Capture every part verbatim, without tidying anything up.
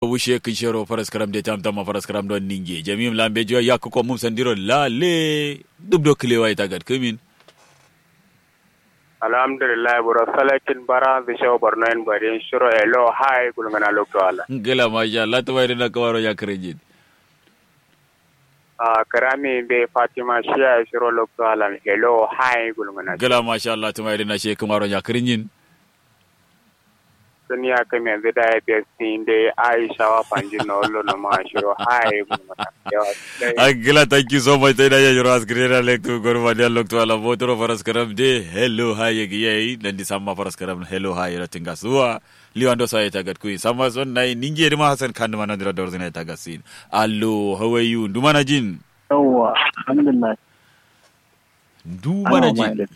Wushe kǝnshero faraskaram de tamtamma faraskaram don ninge jami'im lambe juwa yakku kommum sandiro lale dubdo kǝlewa ita gadkǝmin. Alhamdulillah buro salakin bara zǝ shau borno yen barin shiro hello hai gulngana lokto ala. Ngla masha Allah tuma idin na kǝmaro nya kǝrinjin. Ah kǝrami mbe fatima shiya shiro lokto alan hello hai gulngana. Ngla masha Allah tuma idin na she kǝmaro nya kǝrinjin. Sǝniya kǝmenzǝ dayi besti nde aisha wa fanjin no wallo no ma shiro hai gulngana. Yawa. Angla thank you so much taida ya shiro askirena lektu gorma de loktu ala botoro faraskaram de hello hai yegiyai nandi samma faraskaram hello hai ro tinga suwa. Liwando saye tagat kuyin samma son nayi ninge dima hasan kanduma nandiro dorzina tagat sin. Allo hawayu ndumana jin. Yawwa alhamdulillah. Ndumana jin.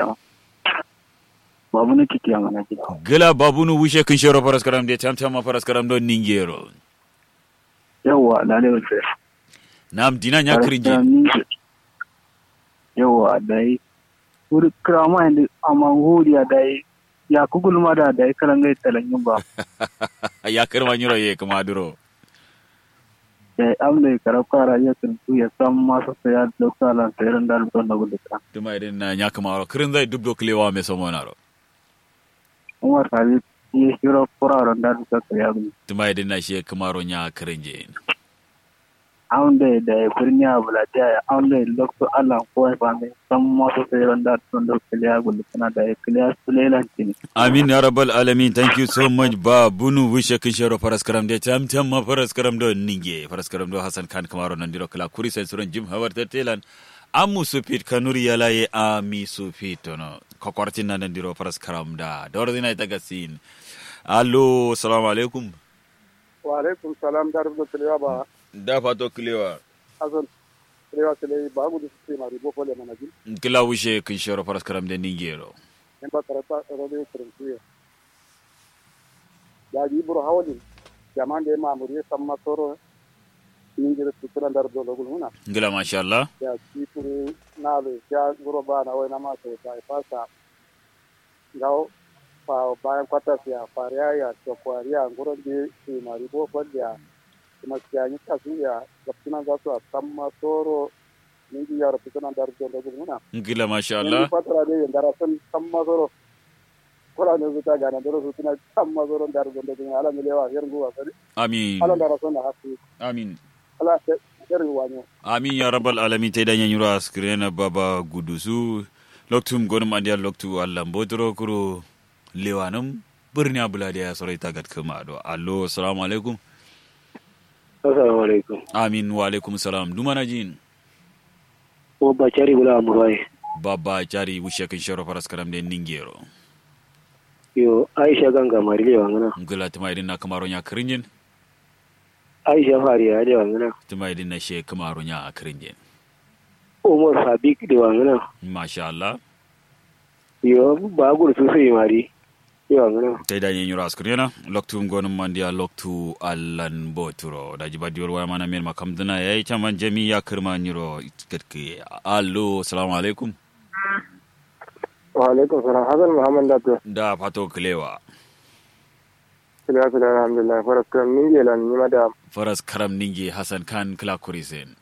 Babunu kitiya mana jin. Gla babunu wushe kǝnshero faraskaram de tamtamma faraskaram don ningero. Yawwa lale wulfe. Nam dina nya kǝrinjin. Yawwa dai. Wuri kǝrama indi amma ngudiya dai. Yakku gulma da dai kalangai talangin ba. Yakku ma nyiro ye kǝma duro. Dai amdai karabka rajiya kǝntu ya samma sassa ya lokta lan sairan da lokta na gulluka. Tuma idin na nya kǝmaro kǝrinzai dubdo kǝlewa me somonaro. Umar habib ye shiro kuraro nda dukka kǝliya gulluka. Tuma idin na shi kǝmaro nya kǝrinjin. Amdai dayi birniya bulatiya ya amdai loktu allan kowai fande. Samma sosai ronda tondo kǝliya gulkǝna dayi kǝliya sulelan cini. Amin ya rabbal alamin thank you so much ba bunu wishe kǝnshero faraskaram de tamtamma faraskaram do ninge faraskaram do hasan kan kǝmaro nandiro kǝla kuri sai suron jim hawar tattelan. Amu sufit kanuri yalaye ami sufit tono kokwartin na nandiro faraskaram da dawar zina ita gasin. Allo salamu alaikum. Wa alaikum salam da rubdo kǝlewa ba. Da fato kǝlewa. Asan kǝlewa kǝlewa ba gudu sǝ ma ribo fole mana jin. Kǝla wushe kǝnshero faraskaram de ningero. Nin ba karabka radio kǝrinkuye. Daji buro hawalin. Jaman de mamuriye samma soro. Ningero sutuna da rubdo logul huna. Ngla masha Allah. Ya sifuru nalo sha nguro ba na wai na ma sai sai fasa. Ngawo. Bayan kwatas ya fariya ya cokwariya nguro nde sumari bo fal ya. Kuma siya nyi kasu ya gabtuna za su a samma soro. Ningi yaro fituna ndar dondo gulmuna. Ngila masha Allah. Fatara de yandara san samma soro. Kura ne zuta gana doro sutuna samma soro ndar dondo gulmuna ala milewa her nguwa sari. Amin. Ala ndara san na hafi. Amin. Amin ya rabbal alamin taida nyanyiro askirena baba gudusu. Loktum gonum andiya loktu allan botoro kuro. Lewanum. Birni abula de ya sorai tagat kama do allo assalamu alaikum. Assalamu alaikum. Amin wa alaikum salam dumana jin. Baba cari bula amurwai. Baba cari wushe kin shero faras karam de ningero. Yo aisha ganga mari lewa ngana. Ngula tuma idin na kamaro nya kirinjin. Aisha fari ya lewa ngana. Tuma idin na she kamaro nya kirinjin. Umar fabik lewa ngana. Masha Allah. Yo ba gursu sai mari. Yo ngana. Tai da nyi nyura askar yana loktu ngonum mandiya loktu allan boturo da jiba diyor waya mana men makam duna yayi caman jami ya kirma nyiro. Gatke allo assalamu alaikum. Wa alaikum salam hasan muhammad da to da fato kilewa. Kilewa kilewa alhamdulillah faras karam ninge lan nima da. Faras karam ninge hasan kan kila kurisen.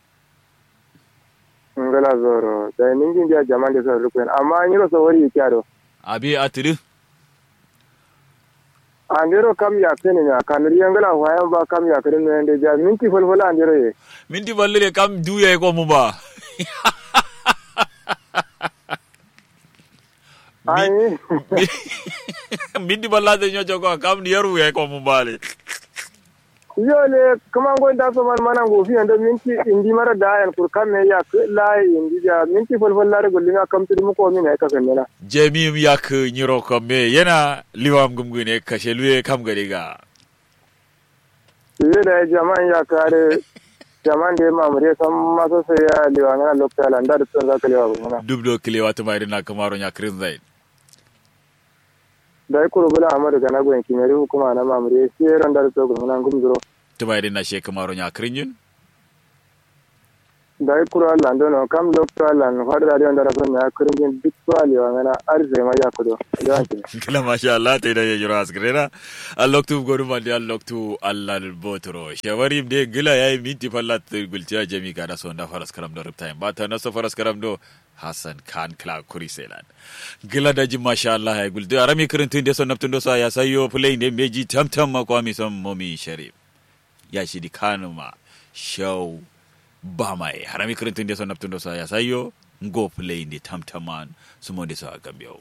Ngla zoro dai ningi ndia jaman de soro lukuyen amma nyiro so wari yikiya do. Abi atiri. Andero kam yakini nya kanuri yangla wayan ba kam yakini no yande ja minti folfol andero ye. Minti folfol ye kam du ye ko mu ba. Ai. Minti balla de nyo joko kam ni yaru ya ko mu bale. Yo le kuma ngo nda so man mana ngo fi ando minti indi mara da yan kur kam me ya la indi ja minti fol fol la re golli ma kam tudu mu ko min ay ka fenna. Jemi ya ke nyiro ko me yana liwam gum gune kashe luye kam gari ga. Ye da jaman ya kare jaman de mamure san maso sai ya liwa ngana lokta landa da tun za ka liwa gum ngana. Dubdo kilewa tuma irin na kamaro nya krin zai. Dai kuru bula amadu gana gwen kimeri hukuma na mamuri siyero ndar to gumuna ngum duro. Tuma idin na she kamaro nya krinjin. Dayi kuru allan dono kam loktu allan fadu radio ndara son ya kurunjin duk so aliwa ngana. Arisai ma yakudo. Yawanci. Kila masha Allah ta yi da yajiro askirena. A loktu godu mandi a loktu allan botoro shawarim de gila yayi minti fallat gultiya jami gada so nda faras karam do riptime ba ta naso faras karam do. Hassan khan kla kuri selan. Gila daji masha Allah yayi gultiya arami kirintin de so naptun do so ya sayo play de meji tamtam ma kwami son momi sharif. Ya shidi kanuma shau ba mai harami kirintin de so naptun do so ya sayo. Ngo play de tamtaman sumo de so a gambiyo.